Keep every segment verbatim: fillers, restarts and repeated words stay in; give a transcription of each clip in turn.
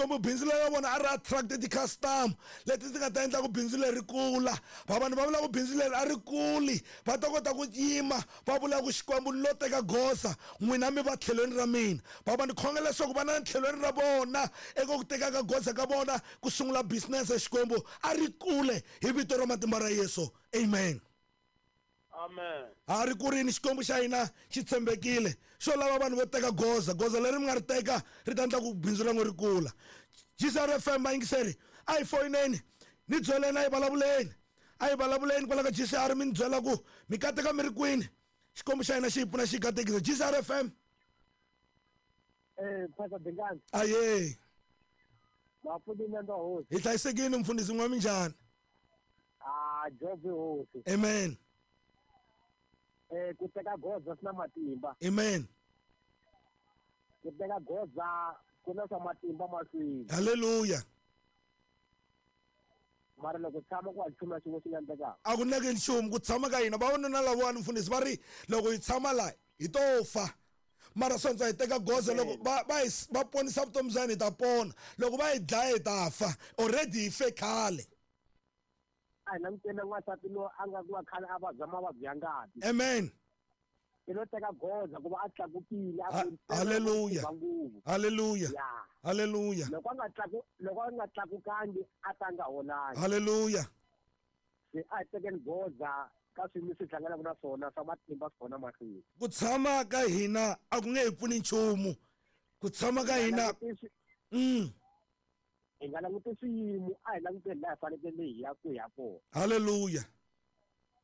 Xikwembu bindzu leri vona a ri attract ti-customer leti ti nga ta endla ku bindzu leri kula. Va vanhu va vula ku bindzu leri a ri kuli, va ta kota ku yima va vula ku Xikwembu ni lo teka goza, n'wina mi va tlhelweni ra mina. Va va ni khongela leswaku va na tlhelweni ra vona eka ku teka ka goza ka vona ku sungula business. Xikwembu a ri kule hi vito ra matimba ra Yesu, amen. Amen. A ri kurini, Xikwembu xa hina xi tshembekile, xo lava vanhu vo teka goza. Goza leri mi nga ri teka ri ta endla ku bindzu ra n'we ri kula. G C R F M, vayingiseri, a hi foyineni ni byeleni, a hi vulavuleni, a hi vulavuleni kwala ka G C R, mi ni byela ku mi kateka mi ri kwini. Xikwembu xa hina xi hi pfuna xi hi katekisa. G C R F M. Eh, Pastor Dingani. Aye. Mafundisi nda hosi. Hi hlayisekile mfundhisi, n'wa minjhani? Ah, Job hosi. Amen. Eh, ku teka goza swi na matimba. Amen. Ku teka goza ku na swa matimba mahlweni. Hallelujah. Mara loko tshama ku nchumu xin'we xi nga endlekaka. A ku neke nchumu ku tshama ka hina. Vavanuna lavawani mfundhisi va ri loko hi tshama laha hi to fa. Mara swantshwa hi teka goza loko va va hi va ponisa vutomi bya hina hi ta pona. Loko va hi dlaya hi ta fa. Already hi fe khale. A hi langutele n'wansati loyi a nga ku va khale a vabya mavabyi ya ngati. Amen. I lo teka goza ku va a tlakukile, a Ha- ku Hallelujah. va nguvu. Hallelujah. Ya. Hallelujah. Loko a nga tlaku, loko a nga tlakukangi a ta nga holangi. Hallelujah. Se a hi tekeni goza ka swilo leswi hi hlanganaka na swona swa matimba swi kona mahlweni. Ku tshama ka hina a ku nge hi pfuni nchumu. Ku tshama ka hina. Mm. Hi nga languti swiyimo, a hi languteni laha hi fanekele hi ya ku ya kona. Hallelujah.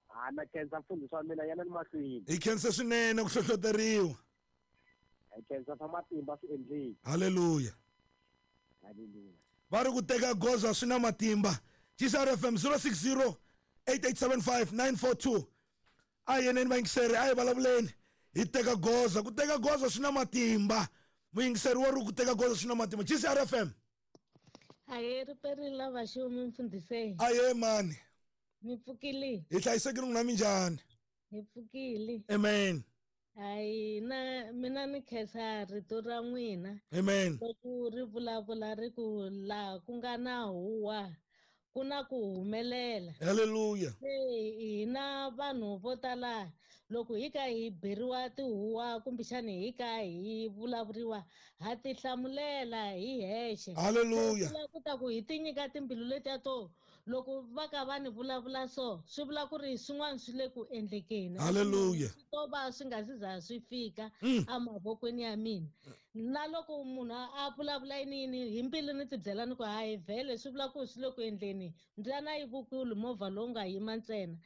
Ha na khensa mfundhisi wa mina, yana ni mahlweni. Hi khensa swinene ku hlohloteriwa. Hi khensa swa matimba swi endleni. Hallelujah. Hallelujah. Va ri ku teka goza swi na matimba. G C R F M zero six zero eight eight seven five nine four two. A hi yeneni vayingiseri, a hi vulavuleni. Hi teka goza, ku teka goza swi na matimba. Muyingiseri wa ri ku teka goza swi na matimba. G C R F M. Aye, ri perile la vaxumi mfundhisi. Aye mani. Mi pfukile. Hi hlayisekile n'wina minjhani? Hi pfukile. Amen. Hayi, na mina ni khensa rito ra n'wina. Amen. Loko ri vulavula ri ku laha ku nga na huwa ku na ku humelela. Hallelujah. Se hina vanhu vo tala loko hi ka hi beriwa tihuwa kumbexani hi ka hi vulavuriwa ha tihlamulela hi hexe. Hallelujah. Swi vula ku ta ku hi ti nyika timbilu letiya to loko va ka va ni vulavula so swi vula ku ri swin'wana swi le ku endlekeni. Hallelujah. Swi to va swi nga si za swi fika Mm. emavokweni ya mina. Na loko munhu a vulavula yini yini hi mbilu ni ti byela ni ku hayi vhele swi vula ku swi le ku endleni. Mbyana yi vukulu movha lowu nga yima ntsena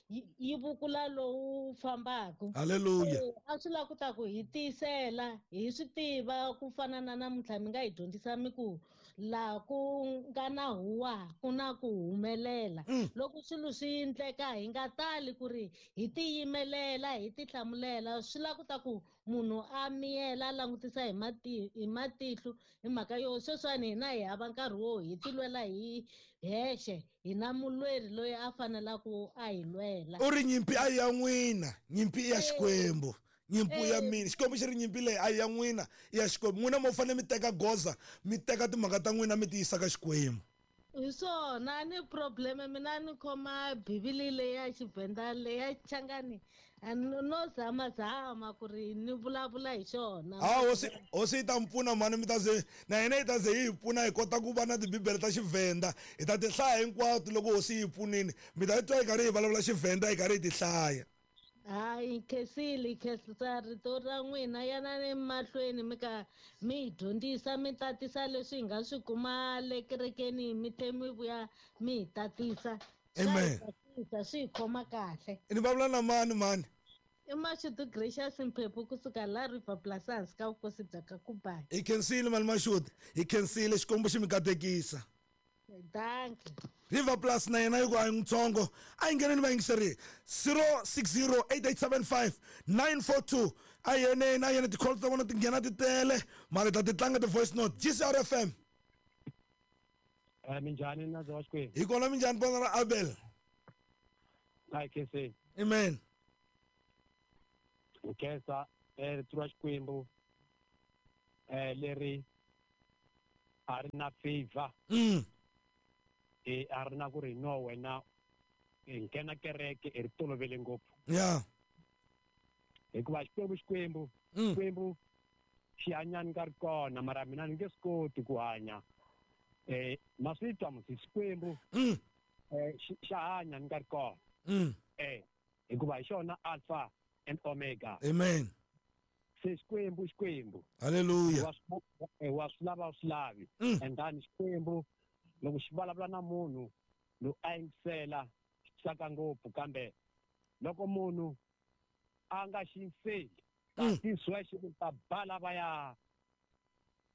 yi, yi vukula lowu fambaka. Hallelujah. Eh, a swi lava ku ta ku hi tiyisela hi swi tiva ku fana na namuntlha mi nga hi dyondzisa mi ku laha ku nga na huwa ku na ku humelela. Mm. Loko swilo swi endleka hi nga tali ku ri hi tiyimelela hi tihlamulela, swi lava ku ta ku munhu a miyela a langutisa hi mati-, hi matihlo hi mhaka yo sweswiwani hina hi hava nkarhi wo hi tilwela hi hexe, hi na mulweri loyi a fanelaka a hi lwela. U ri nyimpi a yi ya n'wina, nyimpi i ya Eh. Xikwembu. Nyimpi ya Eh. mina, Xikwembu xi ri nyimpi leyi a yi ya n'wina, i ya Xikwembu. N'wina mo fanele mi teka goza, mi teka timhaka ta n'wina mi ti yisa ka Xikwembu. Hi swona, a ni probleme mina ni khoma bibele leyi ya Xivenda leyi ya Changani, a no zamazama ku ri ni vulavula hi xona. Ha, hosi, hosi yi ta mi pfuna mhani, mi ta ze na hina yi ta ze yi hi pfuna hi kota ku va na tibibele ta Xivenda, hi ta ti hlaya hinkwato loko hosi yi hi pfunile. Mi ta twa hi karhi hi vulavula Xivenda hi karhi hi ti hlaya. Hayi, khensile, khensa rito ra n'wina, yanani mahlweni mi ka mi hi dyondzisa, mi tatisa leswi hi nga swi kuma le kerekeni, mi tlhe mi vuya mi hi tatisa. Swa hi Amen. tsakisa, swi hi khoma kahle. Ni vulavula na mani mani? I Mashudu Gracious Mphephu kusuka la River Plus hansi ka vukosi bya ka Kubai. Hi khensile mali Mashudu, hi khensile, Xikwembu xi mi katekisa. Dankie. River Plus na yena yi ku a hi ntsongo, a yi ngheneni vayingiseri zero six zero eight eight seven five nine four two. A hi yeneni, a hi yeni, ti-call ta vona ti nghena ti tele, mara hi ta ti tlanga ti-voice note. G C R F M. Eh, minjhani na wa Xikwembu? Hi kona minjhani pona ra Abel? A hi khenseni. Amen. Hi khensa, eh, rito ra Xikwembu, eh, leri A ri na favor. Mm. E a ri na ku ri no wena i nghena kereke i ri tolovele ngopfu. Yeah. Hikuva Xikwembu Xikwembu Mm. Xikwembu xi hanya ni nga ri kona mara mina ni nge swi koti ku hanya. Eh ma swi twa musi Xikwembu Mm. eh xi- xa hanya ni nga ri kona. Mm. Eh hikuva hi xona Alpha and Omega. Amen. Se Xikwembu Xikwembu. Hallelujah. Wa swi eh, wa swi lava u swi lavi. Mm. And then Xikwembu loko xi vulavula na munhu loyi a yingisela xi tsaka ngopfu kambe loko munhu a nga xi yingiseli Mm. kasi sweswo ni ta ba lavaya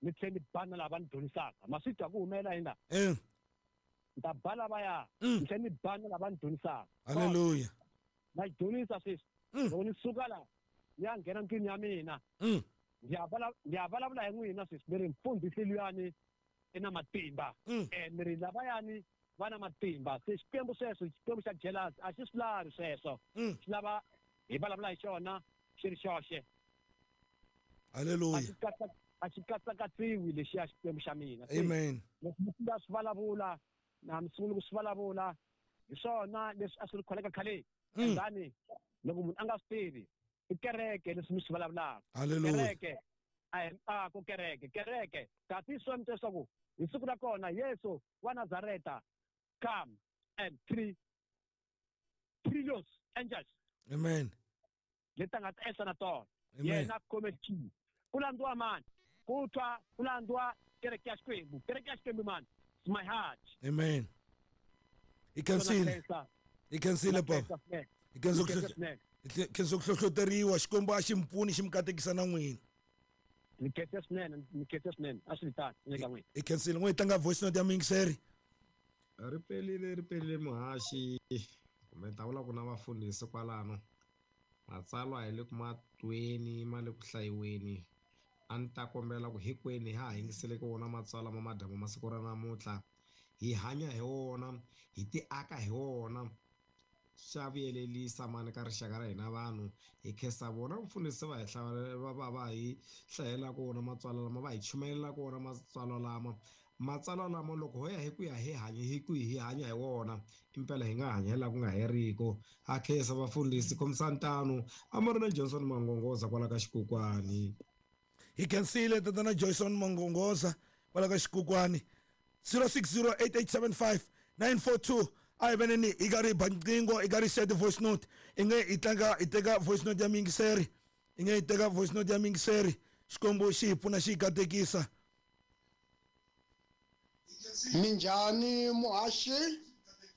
ni tlhela ni ba na lava ni dyondzisaka ma swi twa ku humelela yini la Eh. ni ta ba lavaya Mm. ni tlhela ni ba na lava ni dyondzisaka Hallelujah. na xi dyondzisa sweswi Mm. loko ni suka la ni ya nghena ndlwini ya mina Mm. ndzi ya vala- ndzi ya vulavula hi n'wina sweswi ni ri mfundhisi luyani i na matimba Mm. eh ni ri lavayani va na matimba se Xikwembu sweswo Xikwembu xa jealous a xi swi lavi sweswo Mm. xi lava hi vulavula hi xona xi ri xoxe a Hallelujah. xi katsa- a xi katsakatsiwi lexiya Xikwembu xa mina Se Amen. leswi mi sungula swi vulavula na mi sungula ku swi vulavula hi swona leswi a swi ri kholeka khaleni Mm. and loko munhu a nga swi tivi i kereke leswi mi swi vulavulaka Hallelujah. kereke a hi miako kereke kereke kasi swi mi leswaku hi siku ra kona Yesu wa Nazareta come and three trillions angels Amen. leti a nga ta ehla na tona Amen. yena khome xihi ku landziwa mani ku twa ku landziwa kereke ya Xikwembu kereke ya Xikwembu mani it's my heart Amen. Hi khensile. Hi khensile baba. Hi khensa ku hlohlo- hi khensa ku hlohloteriwa Xikwembu a xi mi pfuni xi mi katekisa na n'wina. ni khense swinene ni khense swinene a swi tano ni ka n'wina Hi khensile n'we hi tlanga voice note ya muyingiseri. Ri pelile ri pelile muhaxi kumbe ni ta vula ku na vafundhisi kwalano matsalwa hi le ku matweni ma le ku hlayiweni a ni ta kombela ku hinkwenu ha ha yingiseleke wona matsalwa ma madyambu ma siku ra namuntlha hi hanya hi wona hi ti aka hi wona xa vuyelelisa mani ka rixaka ra hina vanhu hi khensa vona mfundhisi va hi hlawula va va va hi hlayelaka wona matsalwa lama va hi chumayelaka wona matsalwa lama matsalwa lama loko ho ya hi ku ya hi hanya hi ku hi hanya hi wona impela hi nga hanya hi laha ku nga heriko ha khensa vafundhisi khomisani tano Amarina Johnson Mangongoza kwala ka Xikokwani. Hi khensile tatana Johnson Mangongoza kwala ka Xikokwani. zero six zero eight eight seven five nine four two a hi veneni hi karhi hi ba nqingho hi karhi hi siya ti-voice note i nge hi tlanga hi teka voice note ya muyingiseri i nge hi teka voice note ya muyingiseri Xikwembu xi hi pfuna xi hi katekisa. Minjhani muhaxi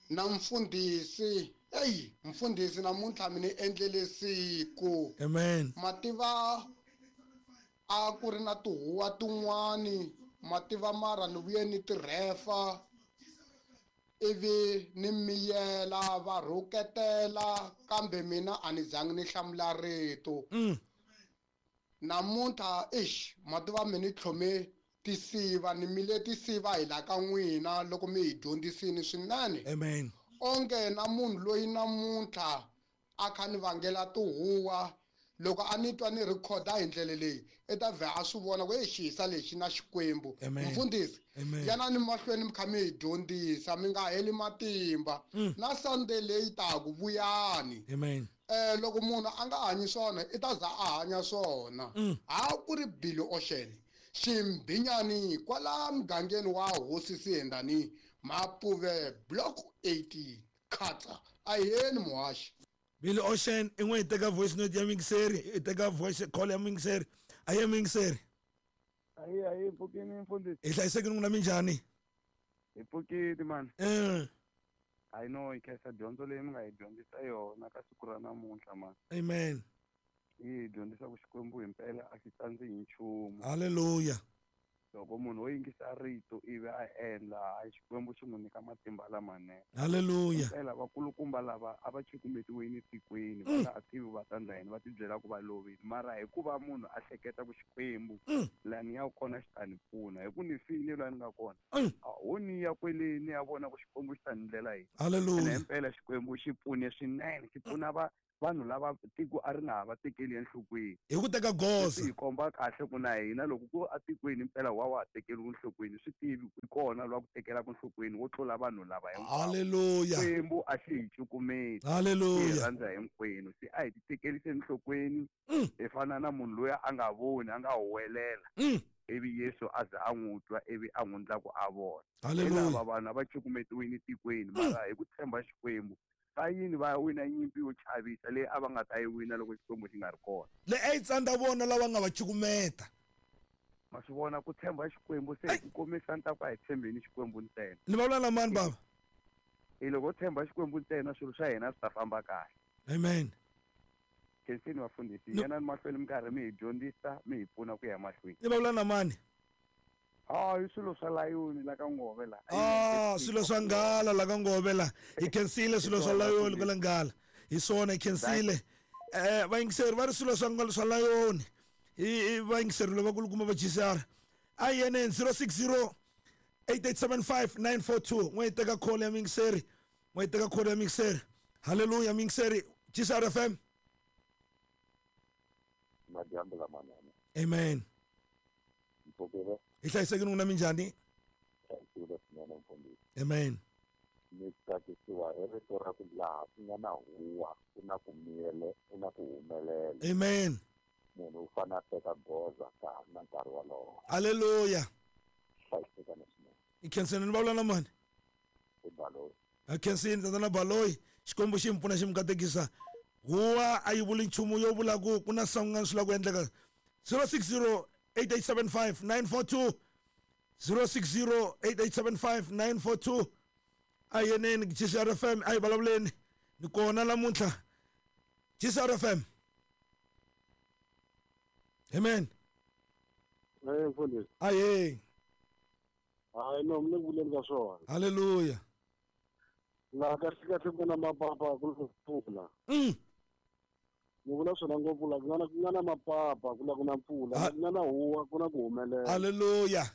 na mfundhisi eyi mfundhisi namuntlha mi ni endlele siku. Amen. Mativa a ku ri na tihuwa tin'wani mativa mara ni vuye ni tirhefa ivi ni miyela va rhuketela kambe mina a ni zangi ni hlamula rito. Mm. Namuntlha ixi mativa mi ni tlhome tisiva ni mile tisiva hi la ka n'wina loko mi hi dyondzisini swinene. Amen. Onge na munhu loyi namuntlha a kha ni vangela tihuwa loko a ni twa ni rhikhoda hi ndlela leyi i ta vhe a swi vona ku e xihisa lexi na Xikwembu. Amen. Mfundhisi Amen. yanani mahlweni mi kha mi hi dyondzisa mi nga heli matimba Mm. na Sunday leyi taku vuyani. Amen. Eh loko munhu a nga hanyi swona i ta za a hanya swona. Mm. Ha ku ri Billy Ocean ximbinyani kwala mugangeni wa Hosi Siyendani Mapuve block eighteen khatsa aheni muhaxi. Billy Ocean i n'we hi teka voice note ya muyingiseri hi teka voice call ya muyingiseri a ye muyingiseri. Ayi ayi pfukini mfundhisi. Hi hlayisekile n'wina minjhani? Hi pfukile mani. Eh. I know hi khensa dyondzo leyi mi nga hi dyondzisa yona ka siku ra namuntlha mani. Amen. Yi hi dyondzisa ku Xikwembu himpela a xi tsandzi hi nchumu. Hallelujah. Loko munhu wo yingisa rito ivi a endla hayi Xikwembu xi n'wi nyika matimba lamanene. Hallelujah. Himpela vakulukumba lava a va cukumetiwile tikweni va Mm. nga ha tivi va ta endla yini va tibyela ku va lovile mara hikuva munhu a hleketa ku Xikwembu Mm. laha ni ya kona xi ta ni pfuna hi ku ni file laha ni nga kona Mm. a ho ni ya kwele ni ya vona ku Xikwembu xi ta ni ndlela yini. Hallelujah. Ene himpela Xikwembu xi pfune swinene xi pfuna va Vanhu lava tiko a ri nga ha va tekeli enhlokweni. Hi ku teka goza. Swi hi komba kahle ku na hina loko ku atikweni impela wa wa ha tekeriwi enhlokweni swi tivi i kona lwa ku tekelaka enhlokweni wo tlula vanhu lava hinkwavo. Haleluya. Xikwembu a xi hi cukumeti. Haleluya. Xi hi rhandza hinkwenu. Se a hi ti tekelise enhlokweni. Hi fana na munhu loyi a nga voni a nga huwelela. Ivi Yesu a za a n'wi twa ivi a n'wi endla ku a vona. Haleluya. Lava vanhu a va cukumetiwile tikweni mara hi ku tshemba Xikwembu va yini va wina nyimpi yo chavisa leyi a va nga ta yi wina loko Xikwembu xi nga ri kona. Le a yi tsandza vona lava nga va cukumeta. Ma swi vona ku tshemba Xikwembu se hi ku komisa ni ta ku a hi tshembeni Xikwembu ntsena. Ni vulavula na mani baba? E loko u tshemba Xikwembu ntsena swilo swa hina swi ta famba kahle. Amen. Khensini vafundhisi, yena ni mahlweni mi karhi mi hi dyondzisa mi hi pfuna ku ya mahlweni. Ni vulavula na mani? Ah, i swilo swa layoni la ka Ngove la. Ah, swilo swa nghala la ka Ngove la. Hi khensile swilo swa layoni kwala nghala. Hi swona hi khensile. Eh, vayingiseri va ri swilo swa nghala swa layoni. Hi vayingiseri lavakulukumba va G C R. A hi yeneni zero six zero eight eight seven five nine four two. N'we hi teka call ya muyingiseri. N'we hi teka call ya muyingiseri. Haleluya muyingiseri. G C R F M. Madyambu lamanene. Amen. Mpfukile. Hi hlayisekile n'wina minjhani? Hlayisekile swinene mfundhisi. Amen. Ni tsakisiwa hi rito ra ku laha ku nga na huwa ku na ku miyele ku na ku humelela. Amen. Munhu u fanele a teka goza ka ha ri na nkarhi wolowo. Haleluya. Hlayisekani swinene. Hi khenseni ni vulavula na mani? I Baloyi. Hi khensini tatana Baloyi. Xikwembu xi mi pfuna xi mi katekisa. Huwa a yi vuli nchumu yo vula ku ku na swin'wana swi lava ku endleka. zero six zero eight eight seven five nine four two zero six zero eight eight seven five nine four two. A hi yeneni G C R F M, a hi vulavuleni ni kona namuntlha. G C R F M. Amen. Eh mfundhisi. Aye. Hayi no mi le ku vuleni ka swona. Haleluya. Laha kahle kahle ku na mapapa ku na mpfula. Mm. Ni vula swona ngopfu la ku nga na ku nga na mapapa ku la ku na mpfula, ku nga na huwa ku na ku humelela. Haleluya.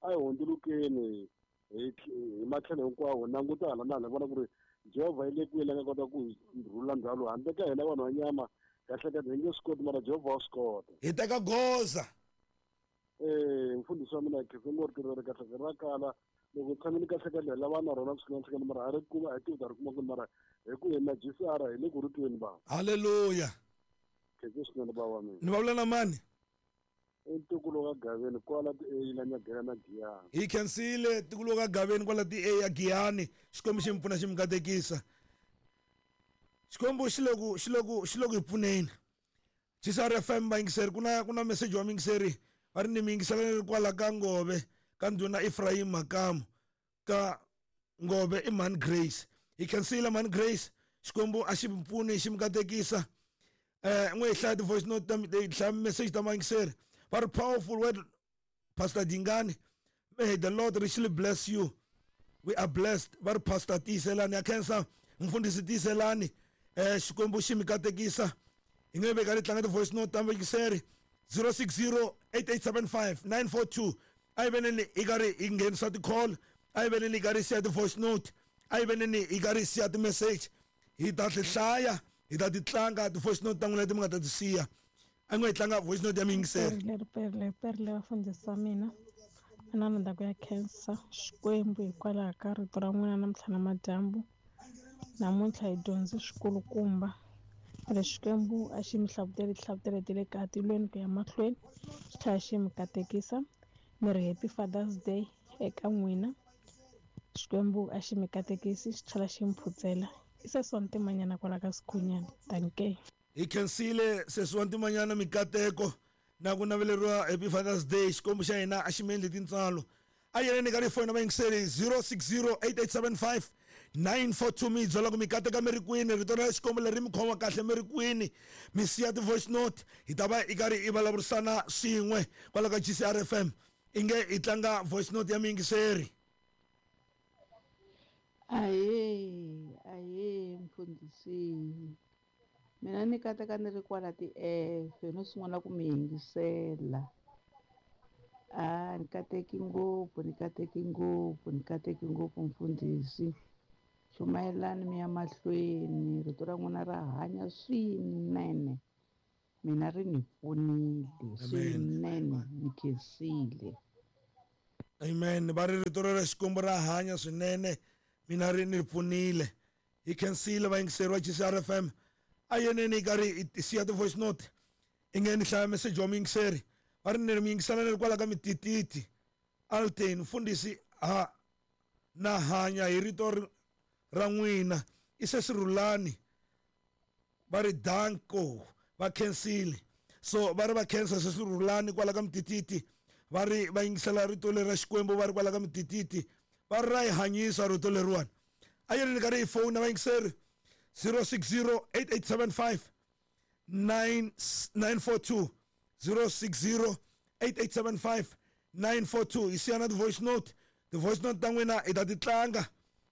A hi hundzulukeni hi hi matlhelo hinkwawo languta hala na hala vona ku ri Jehovha yi le kwihi la nga kota ku hi rhula ndhawu handle ka hina vanhu va nyama kahle kahle hi nge swi koti mara Jehovha wa swi kota. Hi teka goza. Eh mfundhisi wa mina khensa ngo ri ri kahle ra kala loko tshamile kahle kahle lava na rona swinene swinene mara a ri kuma a tivi ta ri kuma kwini mara hi ku hina G C R hi le ku ri tweni bava. Haleluya. Khensa swinene bava wa mina. Ni vulavula na mani? I ntukulu ka Gaveni kwala ti-A la Nyagela na Giyani. Hi khensile ntukulu ka Gaveni kwala ti-A ya Giyani. Xikwembu xi mi pfuna xi mi katekisa. Xikwembu xi le ku xi le ku xi le ku hi pfuneni. G C R F M vayingiseri ku na ku na message wa muyingiseri va ri ni mi yingisela ni ri kwala ka Ngove ka ndhuna Ephraim Makamu ka Ngove i Mhani Grace. Hi khensile Mhani Grace. Xikwembu a xi mi pfuni xi mi katekisa. Eh n'we hi hlaya ti-voice note ta hi hlaya message ta vayingiseri. Very powerful word, Pastor Dingani. May the Lord richly bless you. We are blessed. Very Pastor Tiselani. Akhensa mfundhisi Tiselani. Eh Xikwembu xi mi katekisa. Hi nge veka ri tlanga ti-voice note ta vayingiseri zero six zero eight eight seven five nine four two. A hi veneni hi karhi hi nghenisa ti-call. A hi veneni hi karhi hi siya ti-voice note. A hi veneni hi karhi hi siya ti-message. Hi ta ti hlaya, hi ta ti tlanga ti-voice note ta n'wina leti mi nga ta ti siya. A n'we hi tlanga voice note ya muyingiseri. Perle perle perle vafundhisi va mina. Mina ni ta ku ya khensa Xikwembu hikwalaho ka rito ra n'wina namuntlha na madyambu. Namuntlha hi dyondze swikulukumba. Ene Xikwembu a xi mi hlavuteli tihlavutelo ta le ka tilweni ku ya mahlweni xi tlhela xi mi katekisa. Mi ri happy Father's Day eka n'wina. Xikwembu a xi mi katekisi xi tlhela xi mi phutsela. I sesi wa Ntimanyana kwala ka Sikhunyana. Dankie. Hi khensile sesi wa Ntimanyana mikateko na ku naveleriwa happy Father's Day. Xikwembu xa hina a xi mi endli tintswalo. A yeneni ka tifoni vayingiseri zero six zero eight eight seven five nine four two mi byela ku mi kateka mi ri kwini rito ra Xikwembu leri mi khoma kahle mi ri kwini mi siya ti-voice note hi ta va i karhi i vulavurisana swin'we kwala ka G C R F M. Inge hi tlanga voice note ya muyingiseri. Ahee, ahee mfundhisi. Mina ni kateka ni ri kwala ti-F no sungula ku mi yingisela. Ah, ni kateki ngopfu, ni kateki ngopfu, ni kateki ngopfu mfundhisi. Chumayelani mi ya mahlweni, rito ra n'wina ra hanya swinene. Mina ri ni pfunile swinene, ni khensile. Amen. Va ri rito ra Xikwembu ra hanya swinene, mina ri ni pfunile. Hi khensile vayingiseri va G C R F M. A yeneni karhi hi siya ti-voice note. I nge ni hlaya message wa muyingiseri. Va ri ni ri muyingisela ni ri kwala ka mitititi. Alten mfundhisi ha na hanya hi rito ra n'wina. I se sirhulani. Va ri danko. Va khensile. So va ri va khensa se sirhulani kwala ka mitititi. Va ri va yingisela rito leri ra Xikwembu va ri kwala ka mitititi. Va ri ra hi hanyisa rito leriwani. A yi ri ni karhi hi fona vayingiseri zero six zero eight eight seven five nine nine four two zero six zero eight eight seven five nine four two. Hi siya na ti-voice note. Ti-voice note ta n'wina hi ta ti tlanga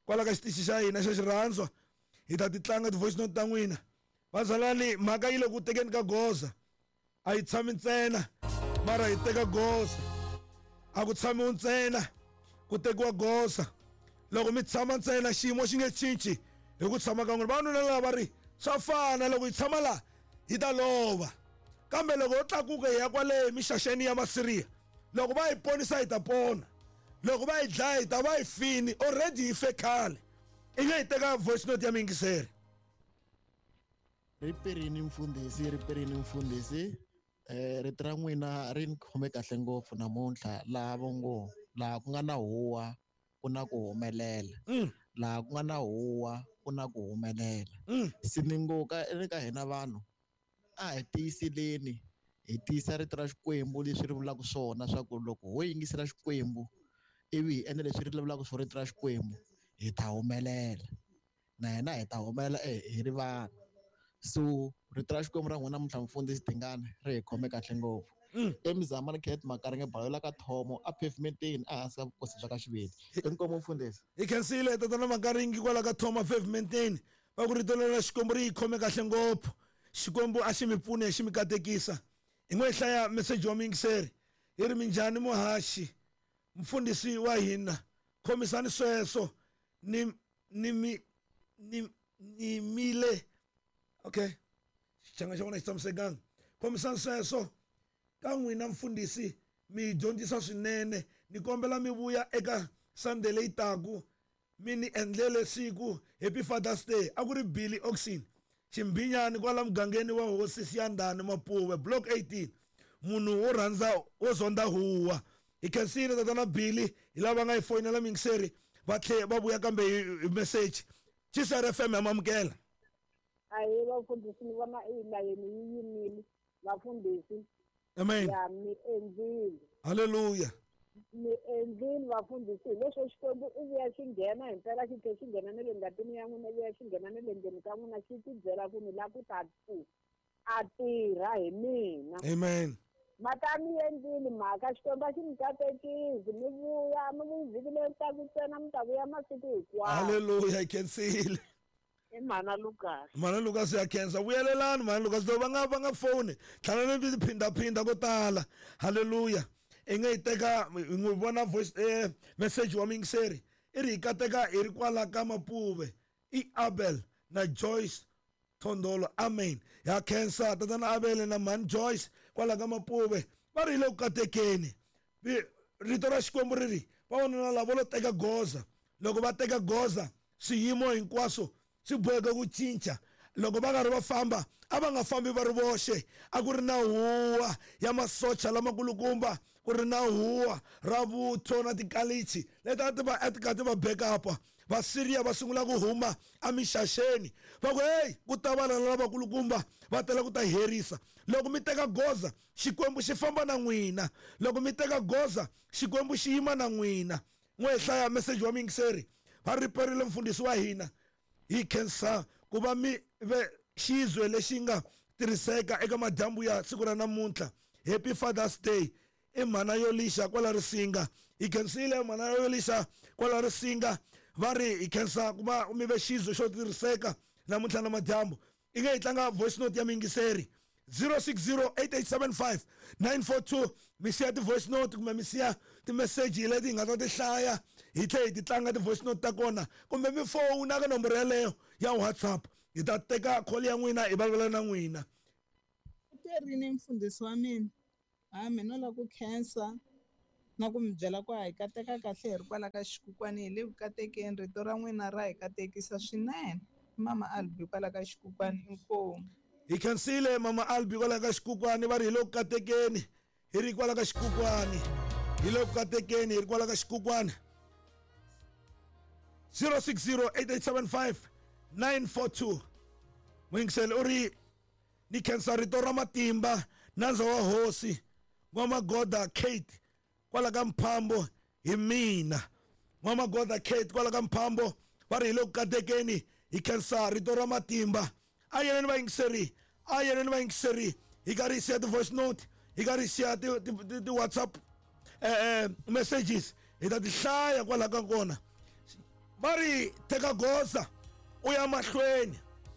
kwala ka xitichi xa hina xa xirhandzwa. Hi ta ti tlanga ti-voice note ta n'wina. Vazalani, mhaka yi le ku tekeni ka goza. A yi tshami ntsena, mara hi teka goza. A ku tshamiwi ntsena, ku tekiwa goza. Loko mi tshama ntsena xiyimo xi nge cinci hi ku tshama ka n'wina. Vavanuna lava va ri swa fana, loko hi tshama laha hi ta lova. Kambe loko ho tlakuka hi ya kwale mixaxeni ya Masiriya, loko va hi ponisa hi ta pona. Loko va hi dlaya hi ta va hi fini, already hi fe khale. I nge hi teka voice note ya muyingiseri. Riperini mfundhisi, riperini mfundhisi. Eh rito ra n'wina ri ni khome kahle ngopfu namuntlha. Laha vo ngo laha ku nga na huwa ku na ku humelela. Laha ku nga na huwa ku na ku humelela. Se ni ngo ka eka hina vanhu a hi tiyiseleni, hi tiyisa rito ra Xikwembu leswi ri vulaka swona, swa ku loko ho yingisela Xikwembu ivi hi endla leswi ri vulaka swona rito ra Xikwembu, hi ta humelela. Na hina hi ta humelela hi ri vanhu. So rito ra Xikwembu ra n'wina namuntlha mfundhisi Dingane ri hi khome kahle ngopfu. Emizamani Kenneth Makaringe Balola ka Thomo a pavementeni ehansi ka vukosi bya ka Xiveti. Inkomu mfundhisi. Hi khensile tatana Makaringi kwala ka Thomo pavementeni. Va ku rito ra Xikwembu ri hi khome kahle ngopfu. Xikwembu a xi mi pfune, xi mi katekisa. Hi n'we hlaya message wa muyingiseri. Hi ri minjhani muhaxi, mfundhisi wa hina, khomisani sweswo ni ni mi ni ni mile. Okay. Xichanga xa vona xi tshamisekanga. Khomisani sweswo ka n'wina mfundhisi, mi dyondzisa swinene. Ni kombela mi vuya eka Sunday leyi taku, mi ni endlele siku Happy Father's Day. A ku ri Billy Oxen Ximbinyani kwala mugangeni wa Hosi Siyandhani Mapuve, Block eighteen. Munhu wo rhandza wo zonda huwa. Hi khensile tatana Billy, hi lava nga hi foyinela muyingiseri va tlhe va vuya kambe hi message. G C R F M ya mamukela. Ahe vafundhisi, ni vona layeni yi yimile vafundhisi. Amen. Ya mi endlile. Hallelujah. Mi endlile vafundhisi, leswo Xikwembu i vuya xi nghena hi mpela, xi tlhe xi nghena na le ngatini ya n'wina, vuya xi nghena na le ndzeni ka n'wina, xi ti byela ku ni la ku ta ku a tirha hi mina. Amen. Mata mi endlile mhaka, Xikwembu a xi mi katekisi, mi vuya mi vuyi vhiki leri taka ntsena, mi ta vuya masiku hinkwawo. Hallelujah, hi khensile. I Mhana Lucas. Mhana Lucas ya khensa. Vuyelelani Mhana Lucas, loko va nga va nga foni tlhela ni phindaphinda ko tala. Hallelujah. I nge yi teka hi n'wi vona voice eh message wa muyingiseri. I ri hi kateka hi ri kwala ka Mapuve. I Abel na Joyce Thondolo. Amen. Ya khensa tatana Abel na Mhani Joyce kwala ka Mapuve. Va ri hi le ku katekeni. Rito ra Xikwembu ri ri vavanuna lava lo teka goza. Loko va teka goza swiyimo hinkwaswo swi boheka ku cinca. Loko va karhi va famba a va nga fambi va ri voxe, a ku ri na huwa ya masocha lamakulukumba, ku ri na huwa ra vutho na tikalichi leti a ti va a ti kha ti va backup. Vasiriya va sungula ku huma emixaxeni, va ku hey, ku ta vana lavakulukumba va tela ku ta herisa. Loko mi teka goza Xikwembu xi famba na n'wina. Loko mi teka goza Xikwembu xi yima na n'wina. N'we hlaya message wa muyingiseri. Va riperile mfundhisi wa hina. Hi khensa ku va mi ve xizwe lexi nga tirhiseka eka madyambu ya siku ra namuntlha. Happy Father's Day. I mhana yo lixa kwala Risinga. Hi khensile mhana yo lixa kwala Risinga. Va ri hi khensa ku va mi ve xizwe xo tirhiseka namuntlha na madyambu. I nge hi tlanga voice note ya muyingiseri zero six zero eight eight seven five nine four two. Mi siya ti-voice note kumbe mi siya ti-message leti hi nga ta ti hlaya. Hi tlhe hi ti tlanga ti-voice note ta kona kumbe mi fowuna ka nomboro yaleyo ya WhatsApp, hi ta teka call ya n'wina hi vulavula na n'wina. Rini mfundhisi wa mina, ha mina no lava ku khensa na ku mi byela ku hi kateka kahle hi ri kwala ka xikukwani, hi le ku katekeni, rito ra n'wina ra hi katekisa swinene. Mama Albi kwala ka xikukwani, inkomu. Hi khensile Mama Albi kwala ka xikukwani, va ri hi le ku katekeni hi ri kwala ka xikukwani, hi le ku katekeni hi ri kwala ka xikukwani. zero six zero eight eight seven five nine four two. Muyingiseli u ri ni khensa rito ra matimba nandza wa hosi N'wamagoda Kate kwala ka Mphambo hi mina. N'wamagoda Kate kwala ka Mphambo va ri hi le ku katekeni hi khensa rito ra matimba. A yeneni vayingiseri, a yeneni vayingiseri, hi karhi hi siya ti-voice note, hi karhi hi siya ti-WhatsApp eh messages, hi ta ti hlaya kwala ka kona. Va ri teka goza u ya mahlweni,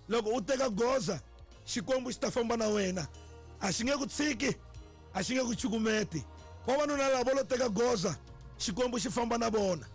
loko u teka goza Xikwembu xi ta famba na wena, a xi nge ku tshiki, a xi nge ku chukumeti. Vavanuna lava vo lo teka goza, Xikwembu xi famba na vona.